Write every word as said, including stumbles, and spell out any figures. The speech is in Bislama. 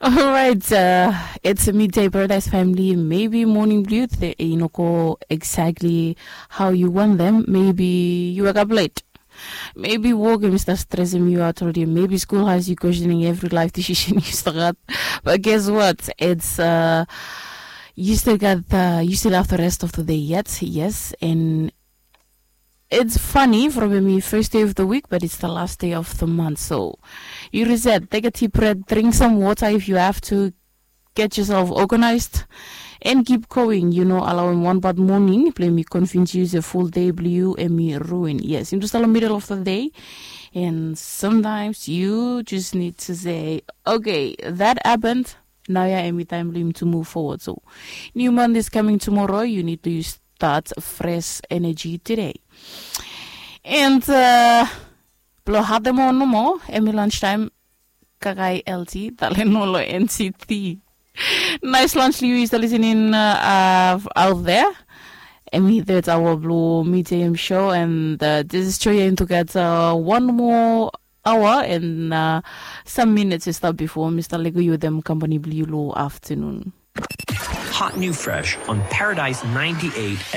Alright, uh, it's a midday paradise family. Maybe morning blue, they, you know, go exactly how you want them. Maybe you wake up late. Maybe work, Mr. Stressing you out already. Maybe school has you questioning every life decision you start. But guess what? It's uh, you still got the, you still have the rest of the day yet, yes, and it's funny from the first day of the week, but it's the last day of the month. So you reset, take a deep breath, drink some water if you have to, get yourself organized, and keep going. You know, allow him one bad morning, blame me, convince you the full day, blue, and me ruin. Yes, into the middle of the day. And sometimes you just need to say, okay, that happened. Now, yeah, every time blame to move forward. So, new month is coming tomorrow. You need to start fresh energy today. And uh, blo hade mo no mo, emi lunchtime, kakai L T, talen mo lo N C T. Nice lunch, Lewis, the listening uh, uh, out there. Emi, that's our blue medium show, and uh, this is Choya into get uh, one more hour and uh, some minutes to stop before Mr. Lego you them company blue low afternoon. Hot new fresh on Paradise ninety-eight